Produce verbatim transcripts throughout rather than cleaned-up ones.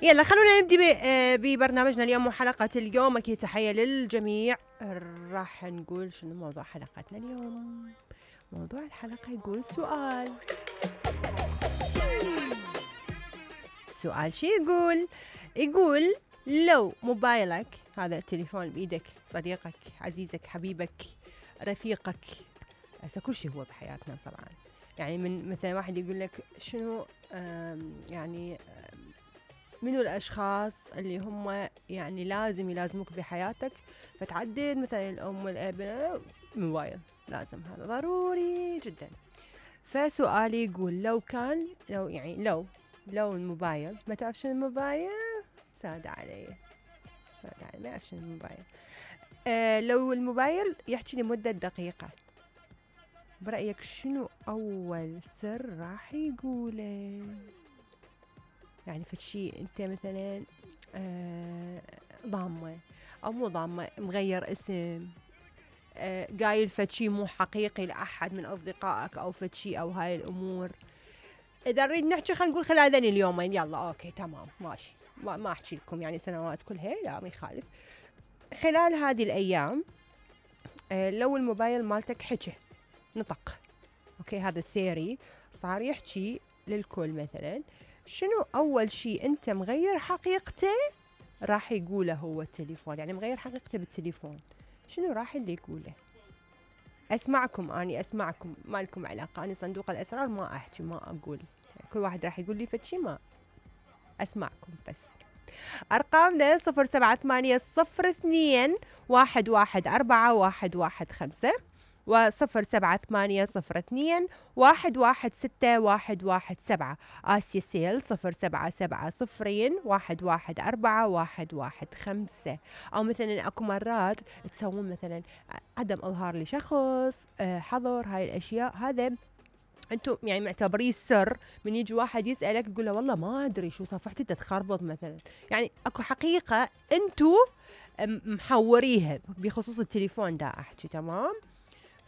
يلا خلونا نبدي ببرنامجنا اليوم وحلقة اليوم. أكيد تحية للجميع. راح نقول شنو موضوع حلقتنا اليوم. موضوع الحلقة يقول سؤال. السؤال شي يقول يقول لو موبايلك، هذا التليفون بإيدك، صديقك، عزيزك، حبيبك، رفيقك، هسه كل شيء هو بحياتنا طبعا. يعني من مثلا واحد يقول لك شنو يعني منو الأشخاص اللي هم يعني لازم يلازموك بحياتك، فتعدد مثلا الأم والأب، موبايل لازم، هذا ضروري جدا. فسؤالي يقول لو كان لو يعني لو لو الموبايل، ما تعرف شنو الموبايل؟ ساد علي ساد علي ما أعرف شنو الموبايل. آه لو الموبايل يحكي لمدة دقيقة، برأيك شنو أول سر راح يقوله؟ يعني فشي انت مثلا آه ضامة او مو ضامة، مغير اسم، آه قايل فشي مو حقيقي لأحد من أصدقائك أو فشي أو هاي الأمور. إذا نريد نحكي خلينا نقول خلال هذين اليومين، يلا أوكي تمام ماشي، ما, ما أحكي لكم يعني سنوات كلها، لا ما يخالف. خلال هذه الأيام آه لو الموبايل مالتك حكي نطق، أوكي هذا السيري صار يحكي للكل، مثلا شنو أول شيء أنت مغير حقيقته راح يقوله هو التليفون؟ يعني مغير حقيقته بالتليفون، شنو راح اللي يقوله؟ أسمعكم، أني أسمعكم، ما لكم علاقة، أنا صندوق الأسرار ما أحكي ما أقول، يعني كل واحد راح يقول لي فتشي ما أسمعكم بس. أرقامنا صفر سبعة ثمانية صفر اثنين واحد واحد أربعة واحد واحد خمسة وصفر سبعة ثمانية صفر اثنين واحد واحد ستة واحد واحد سبعة. آسيا سيل صفر سبعة سبعة صفرين واحد واحد أربعة واحد واحد خمسة. أو مثلا أكو مرات تسوون مثلا عدم إظهار لشخص، حظر، هاي الأشياء، هذا أنتم يعني معتبريه سر. من يجي واحد يسألك تقول له والله ما أدري شو صفحتي تتخربط مثلا، يعني أكو حقيقة أنتم محوريها بخصوص التليفون دا أحكي تمام.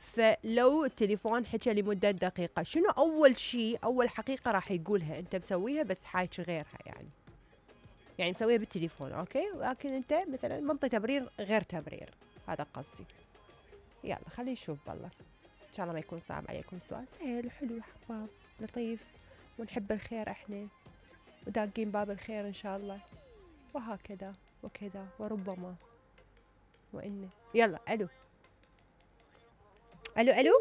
فلو التليفون حكى لمدة دقيقة، شنو أول شيء أول حقيقة راح يقولها؟ أنت مسويها بس حاجة غيرها، يعني يعني مسويها بالتليفون أوكي، ولكن أنت مثلا منطي تبرير غير تبرير، هذا قصدي. يلا خلينا نشوف بالله، إن شاء الله ما يكون صعب عليكم. سؤال سهل حلو حباب لطيف، ونحب الخير إحنا وداقين باب الخير إن شاء الله، وهكذا وكذا وربما وإنه. يلا ألو ألو ألو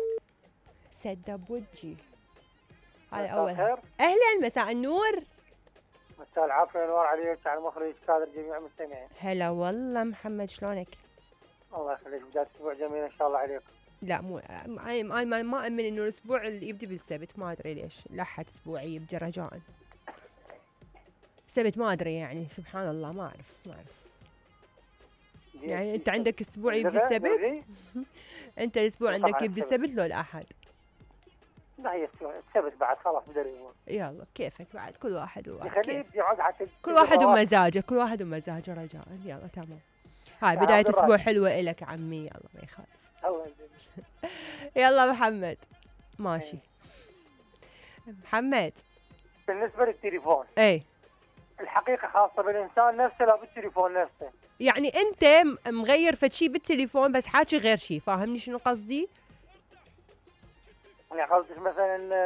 سد بوجي، هذا أول. أهلا مساء النور. مساء العافية والنور عليك، على المخرج كادر جميع المستمعين. هلا والله محمد، شلونك؟ الله يخليك، بداية أسبوع جميل إن شاء الله عليكم. لا مو أنا ما ما أؤمن إنه الأسبوع اللي يبدي بالسبت، ما أدري ليش لحد أسبوعي يبدي رجاء سبت، ما أدري يعني سبحان الله، ما أعرف ما أعرف يعني أنت عندك أسبوع يبدي السبت؟ أنت الأسبوع عندك يبدي السبت لو الأحد؟ لا هي السبت بعد خلاص بدأ الأسبوع. يلا كيفك بعد، كل واحد وواحد كل واحد ومزاجه، كل واحد ومزاجه رجاء. يلا تمام، هاي بداية أسبوع حلوة إلك عمي، يلا ما يخالف. الله يجزيك. يلا محمد ماشي. محمد بالنسبة للتليفون، اي الحقيقة خاصة بالإنسان نفسه لا بالتليفون نفسه. يعني أنت مغير فشي بالتليفون بس حاكي غير شي، فاهمني شنو قصدي؟ يعني قصدك مثلا